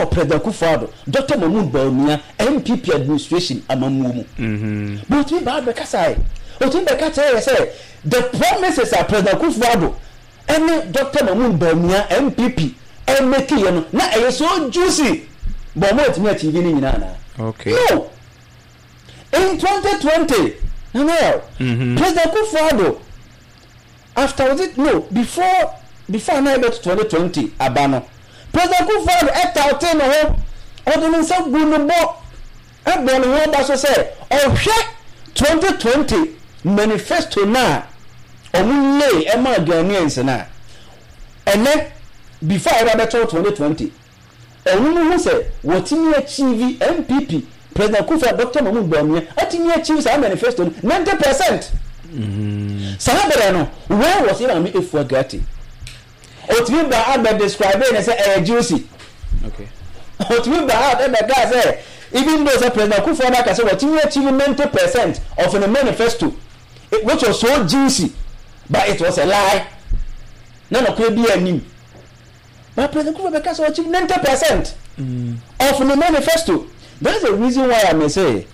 Ɛwɔ President Akufo Addo, Doctor Mahmood Bawumia, NPP administration amammuo mu. But ɔtumi baa bɛkasaeɛ. Ɔtumi bɛka kyerɛɛ yɛ sɛ the promises a President Akufo Addo ɛne Doctor Mahmood Bawumia, NPP, ɛmekiiɛ no, na ɛyɛ so juicy. But wɔn antumi achieve ne nyinaa anaa? Okay. No! In 2020, Nana Yaw, President Akufo Addo, After was it no before before na ɛbɛto 2020 aba no, President Kufuor tautee ne ho, ɔde ne nsa guu ne bo bɔɔ ne ho aba so sɛ ɔhwɛ 2020 manifesto no a wɔn lay ɛmaa Ghanaians no a, ɛnɛ before a yɛba bɛto 2020 Ɔno hu sɛ wɔtumi achieve NPP President Akufo Addo Doctor Mahmood Bawumia atumi achieve saa manifesto no 90%. Saa berɛ no where was yɛ maame Efua Gatti? Ɔtumi ba out bɛ describe ne sɛ ɛyɛ juicy. Ɔtumi ba out ɛbɛkaa sɛ even though sɛ President Akufo Addo aka sɛ wɔtumi achieve 90% of ne manifesto which was so juicy but it was a lie. Na nɔkorɛ biara nnim. But President Kufuor bɛka sɛ ɔachieve 90% of ne manifesto. That's the reason why I may say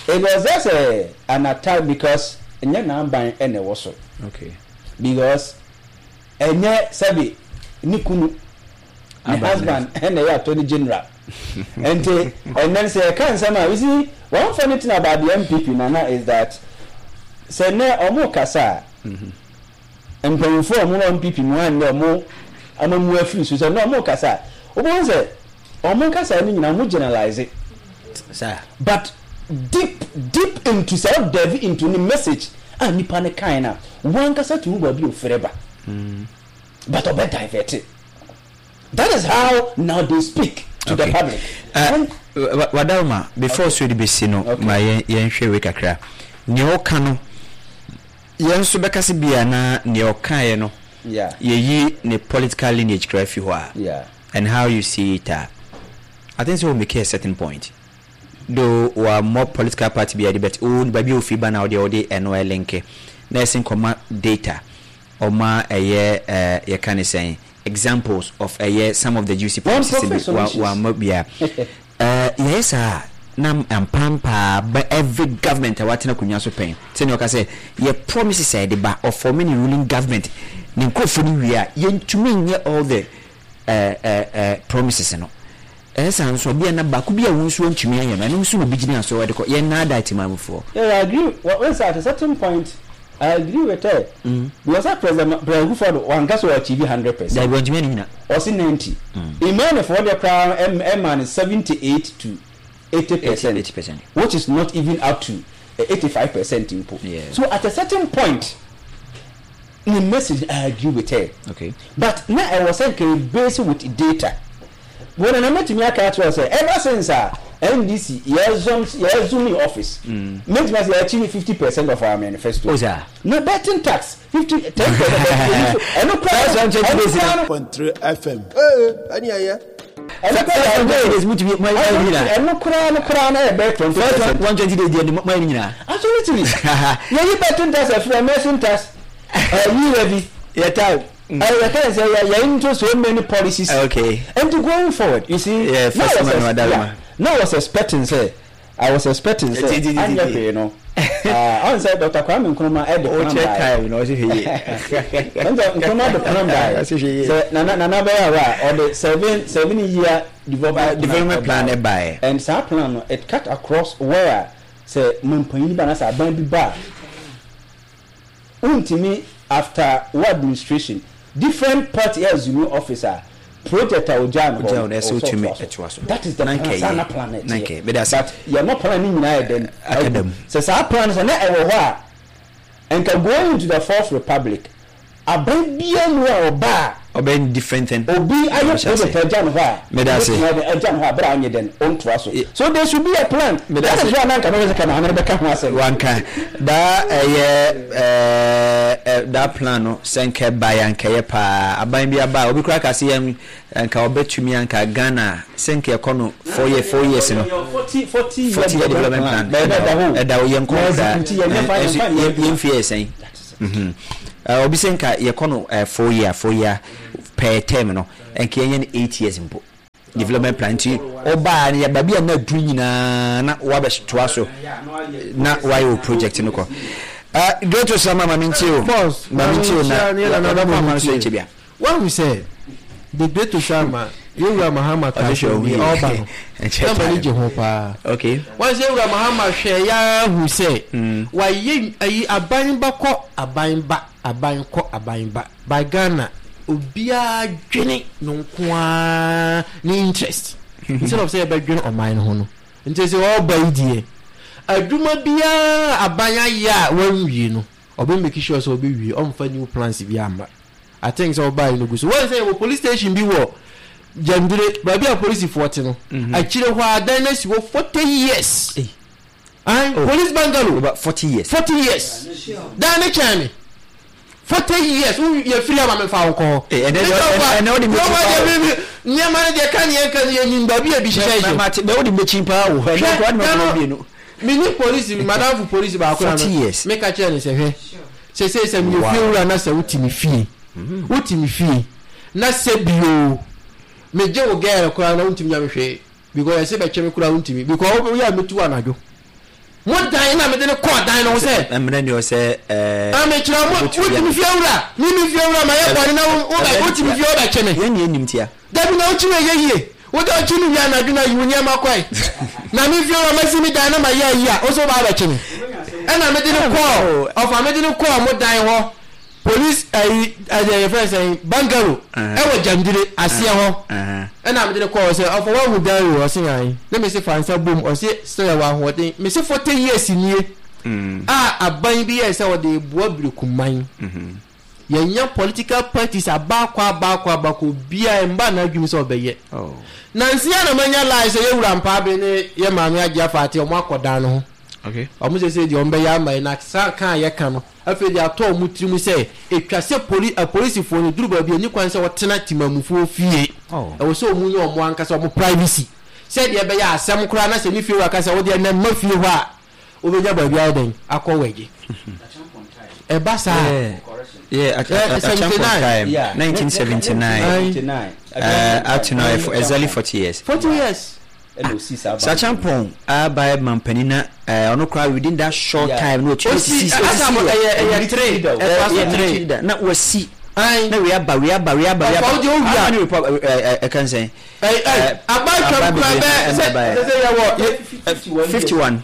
it was just a, an attack because ɛnyɛ n'aban na ɛwɔ so. Okay. Because ɛnyɛ sɛbi ne kunu ne husband ɛna ɛyɛ attorney general. Nti ɛnɛ sɛ yɛka nsɛm a you see one funny thing about the NPP Nana is that sɛ nɛ ɔmo kasa a. Mm-hmm. Mpanyinfoɔ a wɔn wɔ NPP mu anyɛ wɔn amamuo afiri so sɛ na wɔn rekasa a, wobɛhu sɛ wɔn kasa no nyinaa wɔn generalize. But deep deep into sɛ wo delve into ne message a nipa no kae no a, wo ankasa tumi hu baabi a ofiri ba. But ɔbɛ divert. That is how now they speak to the public. Uh, Wadaroma, before so de bɛsi no, ma yɛnhwɛ wei kakra. Nea ɔka no, Yɛn nso bɛka sɛ bia na nea ɔkaeɛ no yɛyi ne political lineage koraa fi hɔ a and how you see it a I think sɛ o make a certain point though wammɔ political party biara din but o baabi a ofiri ba na wodeɛ wode ɛno ɛlinke na ɛsen kɔma data ɔma ɛyɛ eh, yɛka ne sɛn examples of ɛyɛ some of the juicy promises bi wamma biara. Eh yɛyɛ saa a na ampampaa ba every government a watena akonnwa so pɛn sɛnea ɔka sɛ yɛ promises a yɛde ba ɔfɔme ne ruling government ne nkurɔfoɔ no wie a yɛntumi nyɛ all the eh eh eh promises no ɛyɛ saa nso a bia na baako bi a wo nso antumi anyɛ no ɛno nso na obi gyina so ɛde kɔ yɛn naadaa timamufoɔ. Yeah, I agree. Well, at a certain point, I agree with her. Because sɛ President President Akufo Addo wanka sɛ ɔachieve 100%. Dabi wantumi anni nyina. Ɔse 90. Imane foɔ deɛ koraa ɛmaa no 78 to 80%. 80%. Which is not even up to 85% mpo. Yeah. So at a certain point, ne message I agree with her. Okay. But na ɛwɔ sɛ nka yɛ base with data. Wo nana mɛtumi aka akyerɛ wo sɛ ever since a NDC yɛ assume office, mɛtumi asɛ yɛ achieve 50% of our manifesto. Oh saa. Na betting tax 50, 10% ɛno koraa no, ɛno koraa no. Point three FM. Ee, ɛne ɛyɛ. Ɛno koraa no, ɛno koraa no koraa no ɛyɛ bɛyɛ 20%. 120 days deɛ mo ayɛ ne nyinaa. Absolutely. Yɛyi betting tax afiri emerson tax, ɛyi levy. Yɛ time. Ɛyɛ yɛ sɛ yɛ yɛ into so many policies. Okay. And to going forward, you see. Yeah, now first was man yeah, now was expecting sɛ I was expecting sɛ anyɛ hwee no. Ɔn sɛ Dr. Kwame Nkrumah ɛde O plan kyerɛ baeɛ. time na ɔsi hwɛ yie. Ɔn sɛ Nkrumah de plan baeɛ. Ɔsi hwɛ yie. Sɛ nana nana bɛyɛ awa a ɔde 7 year development Development plan ɛbaeɛ. And saa plan no, it cut across where sɛ mampanyin ba na sɛ aban bi ba a, wontumi after wo administration different party assume office a, project a ogyaa no hɔ Ogyaa no no, ɛsɛ ɛwɔ sɛ wotumi ɔtoa so. ɛtoa so. That is the Na plan, nkɛyɛ. saa na plan no Na ɛteɛ. nkɛyɛ. Meda ase. But yɛma plan no nyinaa yɛ dɛn? Aka dam. Sɛ saa plan no sɛ na ɛwɔ hɔ a, nka going into the fourth republic, aban biara mu a ɔba a, Ɔbɛyɛ different thing. Obi ayɛ Ɔhyɛ ase. project agya no hɔ a, Meda ase. obetumi ayɛ agya no hɔ a, bere a ɔnyɛ dɛn, ɔntoa so. So there should be a plan. Meda That ase. is why na nka mɛpɛ sɛ ka maame no bɛka ho asɛm. Wanka daa ɛyɛ ɛɛ daa plan no sɛ nka ɛbaeɛ anka ɛyɛ paa. Aban bi aba a obi koraa ka sɛ yɛn nka ɔbɛtumi anka Ghana sɛ nka ɛkɔ no 4 years no. 40 40 year development plan. Ɛda hɔ. Ɛda hɔ yɛn kɔn Na koraa. execute yɛn nyɛ fa yɛn fa nyɛ Yɛn fie yɛ sɛn. Obi sɛ nka yɛkɔ no 4 year 4 year per term no nka yɛnyɛ no 8 years mpo. Development plan nti ɔbaa no yɛ baabi a na aduru nyinaa na wabɛtoa so na wayɛ wɔ project no kɔ. Uh, Great Osama ma mentie o. Boss, ma mentie o na yɛbɛkɔ ama no so nkyɛ bia. Wahu sɛ the great Osama yɛwura Mahama kaa sɛ deɛ ɔreba no na m'ani gye ho paa. Okay. Wahu sɛ yɛwura Mahama hwɛ ya hu sɛ wayɛ ayi aban ba kɔ aban ba aban kɔ aban ba by Ghana obiara dwene no nko ara ne interest instead of sɛ yɛbɛdwene ɔman no ho no. Nti sɛ ɔreba yi deɛ adwuma biara aban ayɛ a wanwie no ɔbɛ make sure sɛ ɔbɛwie, ɔmfa new plans biara mma. I think sɛ ɔbaa yi no gu so. Wɔn sɛ yɛwɔ police station bi wɔ Gyandire, baabi a polisifoɔ te no. Mhm. Akyire hɔ a dan no asi hɔ 40 years. Ayi, oh. Police bungalow. Over 40 years. 40 years. Dan ne kyɛn me. 40 years. Wo yɛ firi ama me fa wo nkɔ hɔ. Eh, ɛnɛ deɛ ɛnɛ wode mbɛkyi paa o. Nneɛma no deɛ ka neɛ nka no yɛ nim baabi a ebi hyehyɛ hyɛ. Mate bɛ wode mbɛkyi paa o. Ɛnɛ kora de mɛkɔ mmienu. Me ni polisi madamfo polisi baako na me ka kyerɛ ne sɛ hwɛ. Seesei sɛ meyɛ fiewura na sɛ wote me fie, wote me fie na sɛ bio megye wo girl koraa na wontumi nya me hwee because yɛse bɛkye me koraa wontumi because woyɛ a metu anadwo. Mo dan na mede no kɔɔ dan no ho sɛ. Mmerɛ ni ɔsɛ ɛɛ. Ah mekyerɛ mo wote me fiewura me me fiewura ma yɛ bɔne na wo wo wote me fie wobɛkye me. Yɛn ni yɛn nim tia. Dabi na wokyi no ɛyɛ yie. Wode ɔkye no wie anadwo na yi wo nneɛma kɔe. Na me fie hɔ masi me dan na mayɛ ayi a, wo nso woba abɛkye me. Ɛna mede no kɔɔ ɔfa mede no kɔɔ mo dan hɔ police ayi ɛdeɛ yɛfrɛ no sɛn bungalow ɛwɔ Gyandire aseɛ hɔ. Ɛna mede no kɔɔ hɔ sɛ ɔfa woahu dan wei ɔse ae. Ne mese fa nsa bom ɔse sɛ yɛwɔ ahoɔden. Mese 40 years nie a aban bi yɛɛ sɛ ɔde reboa Birekuman. Yɛnya political parties abaakɔ abaakɔ abaakɔ obiara ɛmba n'adwene sɛ ɔbɛyɛ. Nansi a na manya lie sɛ yɛwura Mpaabe ne yɛ maame Agye Afaate ɔmo akɔ dan no ho. Ɔmo sɛ sɛ deɛ ɔmo bɛyɛ ama yɛ na saa ka a yɛka no afei deɛ atɔ ɔmo tirim sɛ etwa sɛ poli apolisifoɔ no duru baabi a ɛni kwan sɛ ɔtena timamufoɔ fie. Ɛwɔ sɛ ɔmo nya ɔmo ankasa ɔmo privacy sɛdeɛ ɛbɛyɛ a asɛm koraa na sɛ ne fie wura ka sɛ wodeɛ nnɛ mma fie hɔ a Wobɛnya baabi ayɛ dɛn akɔ wɛgye? Ɛba saa a. Yeah, 79. Time, 1979. Up to now, exactly 40 years. 40 years. Sachampong abae mampanin na ɔno koraa within that short time no otumi sisi osisi ɛyɛ three ɛfa so three na wasi na wei aba wei aba wei aba wei aba ɔfa ne report ɛka nsɛn aba twam kura bɛ sɛ sɛ yɛ wɔ 51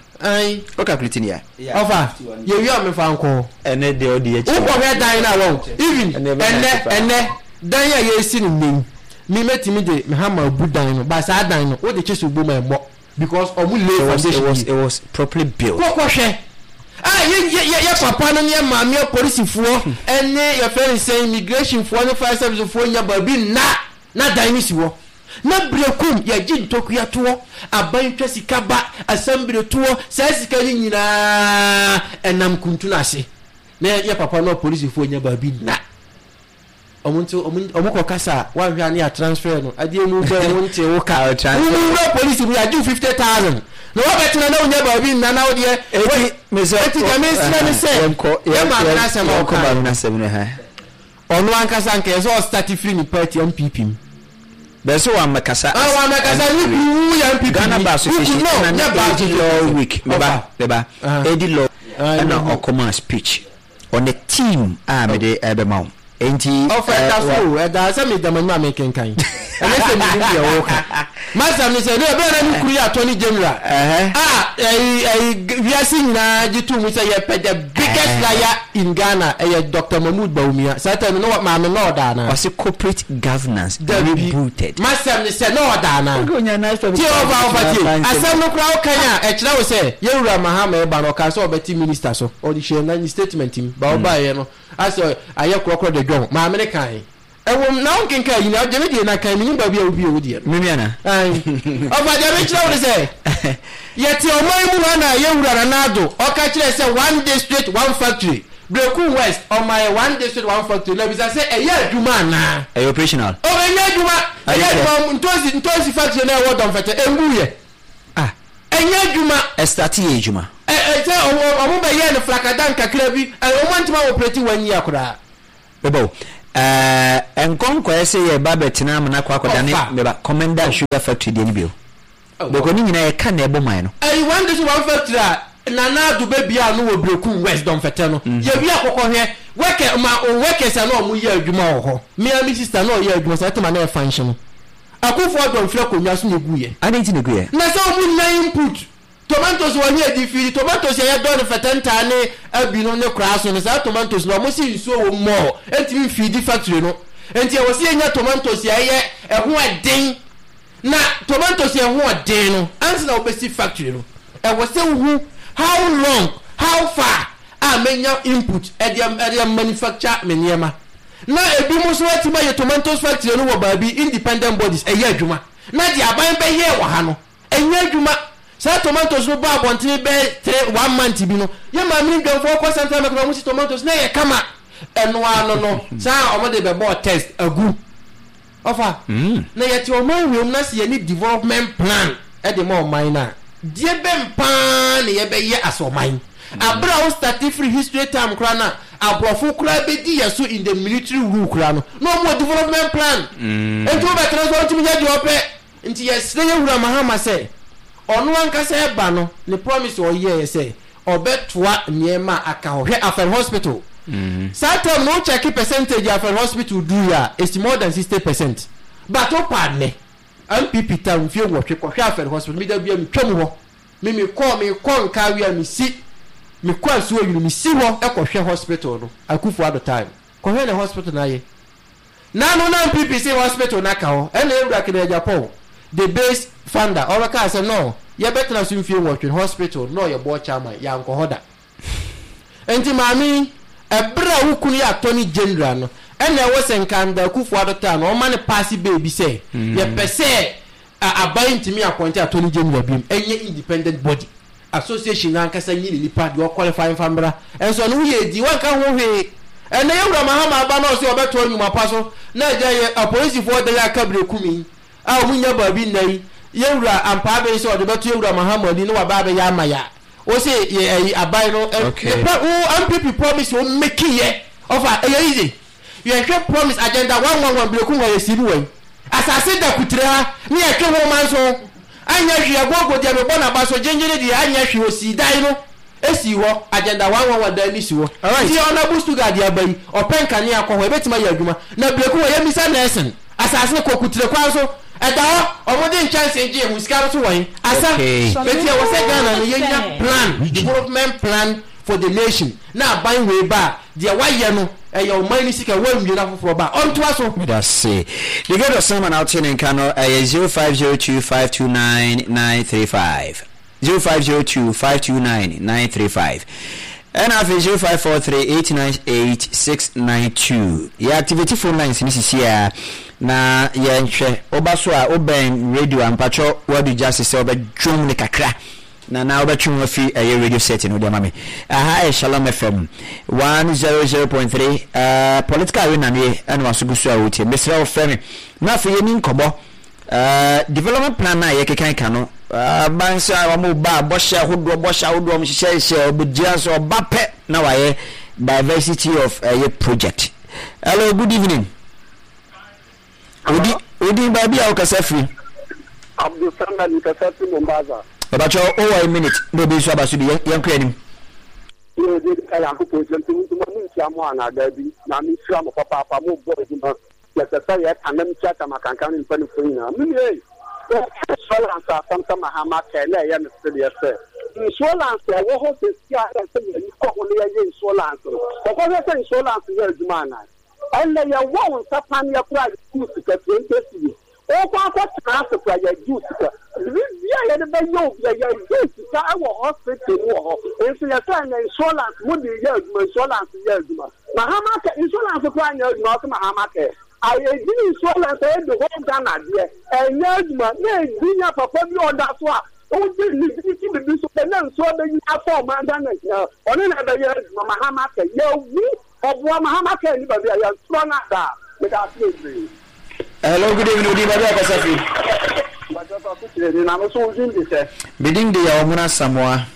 o calculate ni ya. Ɔfa yɛ wi a mefa nkɔ. Ɛnɛ deɛ ɔde akyi. Wokɔ hwɛ dan na wɔn even ɛnɛ ɛnɛ dan a yɛsi no nnɛ yi mi mɛtumi de me hammer bu dan no ba saa dan no wode kye so bom a ɛmmɔ because ɔmo lay foundation it was it was properly built. Kɔkɔ hwɛ a yɛ yɛ yɛ papa no ne yɛ maame apolisifoɔ ɛne yɛfrɛ ne sɛn immigration foɔ ne fire service foɔ nya baabi nna. Na dan no si hɔ. Na berekum yɛgye ntokua toɔ, aban twa sika ba, asɛmbere toɔ, saa sika no nyinaa ɛnam kuntunu ase. Na yɛ papa no apolisifoɔ nya baabi nna. Ɔmo nti ɔmo ɔmo kɔ kasa a wanhwɛ a ne yɛ transfer no adeɛ mu bɛn wo nte wo ka. Wo mu wura polisi mu yɛagye wo 50,000 na wabɛtena na wonya baabi nna na wodeɛ. Eti mesɛ Eti deɛ mesrɛ ne sɛ yɛ maame no asɛm a ɔkaeɛ. Ɔno ankasa anka ɛsɛ ɔstarte firi ne party NPP mu. Bɛɛ sɛ wammɛkasa as Ah wammɛkasa ne kunu wo yɛ NPP Ghana ni Bar wo Association kunu no ɛna ne nyɛ bar AD association Law Week meba ɔfa meba ah AD Law ah ɛna mehu. ɔkɔmaa speech on the team a mede ɛbɛma wo enti Ɔfa eh, ɛda so wa o ɛda sɛ meda m'anim a mekenkan ɛnyɛ sɛ menim deɛ woka M'asɛm ne sɛ ne ɛberɛ a na ne kunu yɛ attorney general ɛhɛ a ɛyi ɛyi wiase nyinaa gye too mu sɛ yɛpɛ the biggest liar in Ghana ɛyɛ Doctor Mahmood Bawumia saa time no na maame na ɔda anaa? Ɔse corporate governance Dabi rebooted. M'asɛm ne sɛ na ɔda anaa? Okay onya nice topic Tie paa ɔfa obetumi ɔfa tie aka nsɛm. asɛm no koraa wokan a ɛkyerɛ wo sɛ yɛn wura Mahama ɛba no ɔkaa sɛ ɔbɛte minister so ɔde hyɛɛ na ne statement mu ba ɔbaeɛ no asɛ ayɛ korɔkorɔ de dwɔn maame no kae. Ɛwom, na wonkenkan ayi na gye me deɛ na kan, mennim baabi a wobue wo deɛ no. Me nua na. Ae. Ɔfa, deɛ mekyerɛ wo ne sɛ, yɛte ɔman mu ha na yɛn wura Nana Addo, ɔka kyerɛɛ sɛ one district, one factory. Berekum West, ɔma yɛ one district, one factory. Na bisa sɛ, ɛyɛ adwuma anaa? Ɛyɛ operational. Oh, ɛnyɛ adwuma. Ɛyɛ Ɛnyɛ sɛ. adwuma. Ntoosi, ntoosi factory no a ɛwɔ Dɔmfɛtɛ, ɛnguiɛ. Ah. Ɛnyɛ adwuma. Ɛstate yɛ adwuma. Ɛ, ɛ, sɛ ɔmo, ɔmo bɛyɛɛ no flakadan kakra bi, ɛ, ɔmo antumi an operate one year koraa. Meba o. Ɛɛ nkɔ nkɔyɛ sɛ yɛreba abɛtena amena akɔ akɔdane Ɔfa. meba Commenda Sugar Factory deɛ no bio. Oh. Because ne nyinaa yɛka na ɛbɔ man no. Ɛyi one district one factory a Nana Addo bɛbia ano wɔ Berekum West Dɔmfɛtɛ no. Yɛwie a kɔkɔhwɛ worker ma o workers a na wɔn yɛ adwuma wɔ hɔ. Me ara me sister na ɔyɛ adwuma saa time a na ɛfa nhye no. Akuffo Addo mfiri akonnwa so na ɛguiɛ. Adɛn nti na ɛguiɛ? Na sɛ wɔn nnya input. Tomatoes wɔ he adi firi? Tomatoes a yɛdɔ no fɛtɛntaa ne abi no ne koraa so no, saa tomatoes no wɔn se nsuo wɔ mu more, ɛntumi mfiidi factory no. Nti ɛwɔ sɛ yɛnya tomatoes a ɛyɛ ɛho ɛden. Na tomatoes a ɛho ɔden no, ansa na wobɛsi factory no, ɛwɔ sɛ wohu how long, how far a mɛnya input ɛde ɛde manufacture me nneɛma. Na ebinom nso atumi ayɛ tomatoes factory no wɔ baabi, independent bodies, ɛyɛ adwuma. Na deɛ aban bɛyɛɛ wɔ ha no, Ɛnyɛ adwuma. Saa tomatoes no baa abɔntene bɛyɛ three, one month bi no, yɛn maame ne dwamfoɔ kɔ central market na wɔsi tomatoes na ɛyɛ kama. Ɛno ara no no, saa a wɔde bɛbɔɔ test agu. Ɔfa, na yɛte ɔman wei mu na sɛ yɛne development plan de ma ɔman no a, deɛ bɛn paa na yɛbɛyɛ as ɔman? Abere a wo starte firi history time koraa no a, aborɔfo koraa bɛdi yɛ so in the military rule koraa no, na wɔn wɔ development plan. Nti wobɛtena so a wontumi nyɛ deɛ wɔpɛ. Nti yɛsrɛ yɛ wura Mahama sɛ ɔno ankasa ɛba no ne promise a ɔyɛɛ sɛ ɔbɛtoa nneɛma a aka hɔ. Hwɛ Afɛn hospital saa term no wo check percentage a Afɛn hospital duruiɛ a ɛsi more than 60 percent but wo pa nnɛ NPP term mfie nwɔtwe kɔhwɛ Afɛn hospital me da bia me twam hɔ me me kɔ me kɔ nkawe a me si me kɔ asuo nwunu me si hɔ kɔhwɛ hospital no Akufo Addo time kɔhwɛ ne hospital no ayɛ Nano na NPP se hospital no aka hɔ ɛna yɛn wura Kenneth Agyapong the base funder ɔbɛkaa sɛ no yɛbɛtena so mfie nwɔtwe no hospital no na ɔyɛ board chairman yɛankɔ hɔ da. Nti maame yi ɛberɛ a wo kunu yɛ attorney general no ɛna ɛwɔ sɛ nka Anda Akufo Addo taa no ɔma no paase baabi sɛ yɛpɛ sɛ aban ntumi appointe attorney general biom ɛnyɛ independent body. Association no ankasa nyi ne nipa deɛ ɔqualify mfa mmra. Nso ɛno woyɛ edi wanka ho hwee. Ɛnɛ yɛ wura Mahama aba na ɔse ɔbɛtoa nnwuma pa so na agya yɛ apolisifoɔ dan a kabire kum yi a ɔmo nnya baabi nna yi yɛ wura Ampaa Ben sɛ ɔde bɛto yɛ wura Mahama ani na waba abɛyɛ ama yɛ a wose yɛ ayi aban no Okay. ne pro wo NPP promise a ɔmeki yɛ ɔfa ɛyɛ easy. Yɛhwɛ promise agenda 111 berekum ha yɛsii bi wɔ yi. Asase da kutire ha ne yɛtwe ho manso anyɛ hwee agogo deɛ mebɔ naba so gyengyene deɛ anyɛ hwee osii dan no esii hɔ agenda 111 dan no si hɔ nti honourable Stuga deɛ aba yi ɔpɛ nkanea kɔ hɔ ebetumi ayɛ adwuma na berekum hɔ yɛmmisa nursing asase no kɔ kutire kwan so ɛda hɔ ɔmo de nkyɛnsee gyee ho sika no so wɔ he asa eti ɛwɔ sɛ Ghana no yɛnya plan development plan for the nation na aban wei ba a Deɛ wayɛ no, ɛyɛ ɔman no sika, wanwie na foforɔ ba a, ɔntoa so. Meda se. The Great Osama na wote ne nka no, ɛyɛ 0502529935. 0502529935. Ɛna afei 0543898692. Yɛ activate phone lines no sisi a na yɛnhwɛ. Woba so a wobɛn radio a mpakyɛ wadu gya se sɛ wobɛdwom ne kakra. Na na wobɛtwe ho afi ɛyɛ radio set no de ama me. Aha ɛyɛ Shalom FM 100.3 uh, political arena no ye ɛna waso gu so a wotie. Mesrɛ wo frɛ me na afei yɛni nkɔmmɔ. Uh, development plan no a yɛkekan ka no uh, ban sɛ wɔn ba bɔhyɛ ahodoɔ bɔhyɛ ahodoɔ wɔn hyehyɛ hyehyɛ ɔbɛgyina so ɔba pɛ na wayɛ diversity of ɛyɛ uh, project. Hello, good evening. Odi odin baabi a wokasa firi. Abdul Samad mekasa firi Mombasa. Ɔbakyɛ wowɔ a minute na obi nso aba so bi yɛnkɔ anim. Yɛ deɛ di ka Nyankopɔn nhyira nti mo mo nhyia mo anaa daabi na me nhyira mo papaapa mo bɔ adwuma yɛsɛ sɛ yɛ ka nam kyia tam akankan ne mpanifoɔ nyinaa me nua ei sɛ insurance asɛm sɛ mahama kɛɛ na ɛyɛ me sedeɛ sɛ insurance ɛwɔ hɔ sɛsi a ɛsɛ yɛni kɔ ho na yɛyɛ insurance no kɔkɔhwɛ sɛ insurance yɛ adwuma anaa Ɛnnɛ yɛwɔ wo nsa paneɛ koraa a yɛgye wo sika 20 cedis. Wokɔ akɔtena ase koraa yɛgye wo sika. Biribiara a yɛde bɛyɛ wo biara yɛgye wo sika wɔ hospital mu wɔ hɔ. Nso yɛsɛ ɛnnɛ insurance mode reyɛ adwuma, insurance yɛ adwuma. Mahama care, insurance koraa nyɛ adwuma wose Mahama care. Ayɛ edin insurance ɛyɛ the whole Ghana deɛ ɛnyɛ adwuma na edin a papa bi a ɔda so a wogye ne din to biribi so pɛ na nsuo abɛnyini afa ɔman Ghana nyinaa ɔno na ɛbɛyɛ adwuma Mahama care yɛwu Ɔboa Mahama kaa ni baabi a yɛn torɔ no ada a meda ase bebree. Hello, good evening. Odin baabi a kasa firi. Mpakyɛ fa so kyerɛ ni na me so wo din de sɛ. Me din de Yaw Muna Samoa.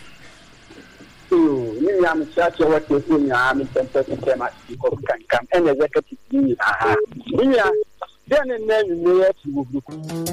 Yoo. Me nua mekyerɛkyerɛ wɔ tiefoɔ nyinaa me mpɛmpɛ kyekyɛ ma nkɔm kankam ɛne executive no nyinaa. Me nua, deɛ ne nnɛ anwummerɛ yi akyi wɔ buruku.